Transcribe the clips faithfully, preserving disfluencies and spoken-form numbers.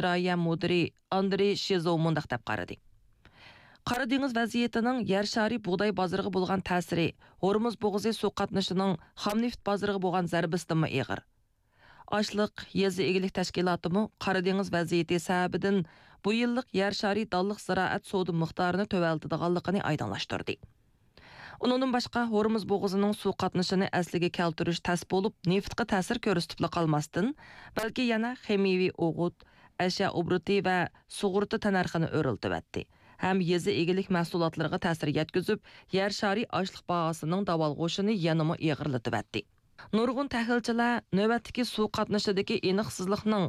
ئىجرائىيە مۇدىرى ئاندرېي شىزو مۇنداق دەپ قارىدى: قارا دېڭىز ۋەزىيىتىنىڭ يەر شارى بۇغداي بازىرىغا بولغان تەسىرى، ھورمۇز بوغۇزى سۇ قاتنىشىنىڭ خام نېفىت بازىرىغا بولغان زەربىسىدىنمۇ ئېغىر. ئاشلىق يېزا ئىگىلىك تەشكىلاتىمۇ قارا دېڭىز ۋەزىيىتى سەۋەبىدىن بۇ يىللىق يەر شارى دانلىق زىرائەت سودا مىقدارىنى تۆۋەنلىتىدىغانلىقىنى ئايدىڭلاشتۇردى. ئۇنىڭدىن باشقا، ھورمۇز بوغۇزىنىڭ سۇ قاتنىشىنى ئەسلىگە كەلتۈرۈش تەس بولۇپ، نېفىتقا تەسىر كۆرسىتىپلا قالماستىن، بەلكى يەنە خىمىيىۋى ئوغۇت، ئەشيا ئوبوروتى ۋە سۇغۇرتا تەننەرخىنى ئۆرلىتىۋەتتى ھەم يېزا ئىگىلىك مەھسۇلاتلىرىغا تەسىر يەتكۈزۈپ، يەر شارى ئاشلىق باھاسىنىڭ داۋالغۇشىنى يەنىمۇ ئېغىرلىتىۋەتتى. نۇرغۇن تەھلىلچىلەر نۆۋەتتىكى سۇ قاتنىشىدىكى ئېنىقسىزلىقنىڭ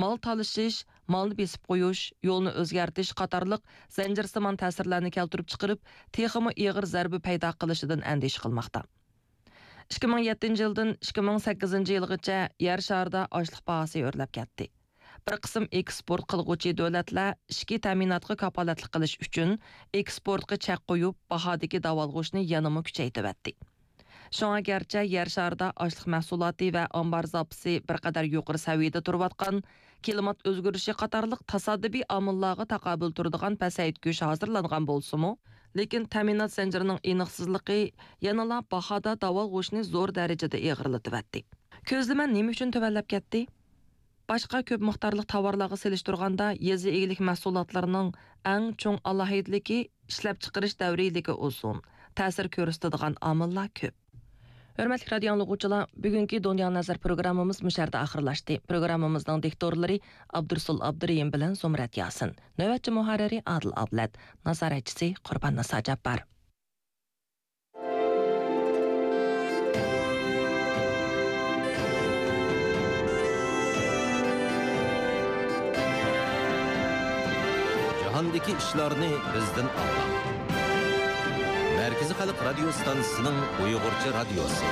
مال تالىشىش، مالنى بېسىپ قويۇش، يولنى ئۆزگەرتىش قاتارلىق زەنجىرسىمان تەسىرلەرنى كەلتۈرۈپ چىقىرىپ، تېخىمۇ ئېغىر زەربە پەيدا قىلىشىدىن ئەندىشە قىلماقتا. ئىككى مىڭ يەتتىنچى يىلدىن ئىككى مىڭ سەككىزىنچى يىلغىچە يەر شارىدا ئاشلىق باھاسى ئۆرلەپ كەتتى. بىر قىسىم ئېكسپورت قىلغۇچى دۆلەتلەر ئىچكى تەمىناتقا كاپالەتلىك قىلىش ئۈچۈن ئېكسپورتقا چەك قويۇپ، باھادىكى داۋالغۇشنى يەنىمۇ كۈچەيتىۋەتتى. شۇڭا گەرچە يەر شارىدا ئاشلىق مەھسۇلاتى ۋە ئامبار زاپىسى بىر قەدەر يۇقىرى سەۋىيەدە تۇرۇۋاتقان، كىلىمات ئۆزگىرىشى قاتارلىق تاسادىپىي ئامىللارغا تاقابىل تۇرىدىغان پەسەيتكۈچ ھازىرلانغان بولسىمۇ، لېكىن تەمىنات زەنجىرىنىڭ ئېنىقسىزلىقى يەنىلا باھادا داۋالغۇشنى زور دەرىجىدە ئېغىرلىتىۋەتتى. كۆزلىمە نېمە ئۈچۈن تۆۋەنلەپ كەتتى؟ باشقا كۆپ مىقدارلىق تاۋارلارغا سېلىشتۇرغاندا، يېزا ئىگىلىك مەھسۇلاتلىرىنىڭ ئەڭ چوڭ ئالاھىدىلىكى ئىشلەپچىقىرىش دەۋرىيلىكى ئۇزۇن، تەسىر كۆرسىتىدىغان ئامىللار كۆپ. ھۆرمەتلىك رادىيو ئاڭلىغۇچىلار، بۈگۈنكى دۇنيا نەزەر پروگراممىمىز مۇشۇ يەردە ئاخىرلاشتى. پروگراممىمىزنىڭ دىكتورلىرى ئابدۇرسۇل ئابدۇرېھىم بىلەن زۇمرەت ياسىن. نۆۋەتچى مۇھەررىرى ئادىل ئابلەت. نازارەتچىسى قۇربان نىسا جاپپار. جاھاندىكى ئىشلارنى بىزدىن ئاڭلاڭ. مەركىزىي خەلق رادىيو ستانسىسىنىڭ ئۇيغۇرچە رادىيوسى.